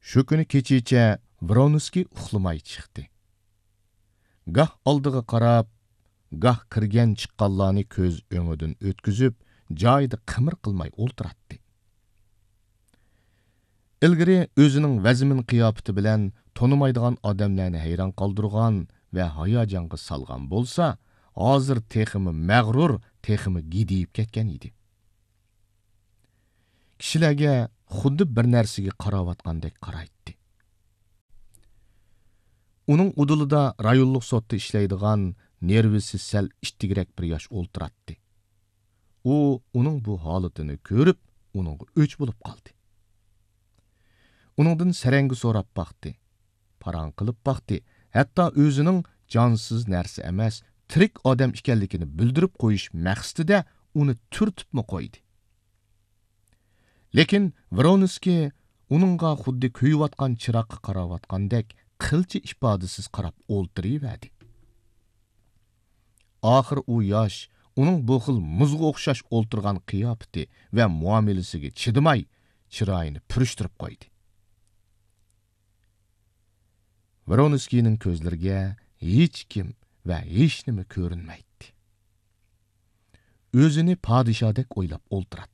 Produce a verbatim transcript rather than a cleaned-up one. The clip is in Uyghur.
شۇ كۈنى كېچىچە ۋرونسكىي ئۇخلىماي چىقتى. گاھ ئالدىغا قاراپ، گاھ كىرگەن-چىققانلارنى كۆز ئۆڭىدىن ئۆتكۈزۈپ، جايىدا قىمىر قىلماي ئولتۇراتتى. ئىلگىرى ئۆزىنىڭ ۋەزمىن قىياپىتى بىلەن تونۇمايدىغان ئادەملەرنى ھەيران قالدۇرغان ۋە ھاياجانغا سالغان بولسا، ھازىر تېخىمۇ مەغرۇر، تېخىمۇ گىدىيىپ كەتكەن ئىدى. كىشىلەرگە خۇددى بىر نەرسىگە قاراۋاتقاندەك قارايتتى. ئۇنىڭ ئۇدۇلىدا رايونلۇق سوتتا ئىشلەيدىغان، نېرۋىسى سەل ئىتتىكرەك بىر ياش ئولتۇراتتى. ئۇ ئۇنىڭ بۇ ھالىتىنى كۆرۈپ، ئۇنىڭغا ئۆچ بولۇپ قالدى. ئۇنىڭدىن سەرەڭگە سوراپ باقتى، پاراڭ قىلىپ باقتى، ھەتتا ئۆزىنىڭ جانسىز نەرسە ئەمەس، تىرىك ئادەم ئىكەنلىكىنى بىلدۈرۈپ قويۇش مەقسىتىدە ئۇنى تۈرتۈپمۇ قويدى. لېكىن ۋرونسكىي ئۇنىڭغا خۇددى كۆيۈۋاتقان چىراغقا قاراۋاتقاندەك قىلچە ئىپادىسىز قاراپ ئولتۇرۇۋەردى. ئاخىر ئۇ ياش ئۇنىڭ بۇ خىل مۇزغا ئوخشاش ئولتۇرغان قىياپىتى ۋە مۇئامىلىسىگە چىدىماي، چىرايىنى پۈرۈشتۈرۈپ قويدى. ۋرونسكىينىڭ كۆزلىرىگە ھېچكىم ۋە ھېچنېمە كۆرۈنمەيتتى. ئۆزىنى پادىشاھدەك ئويلاپ ئولتۇراتتى.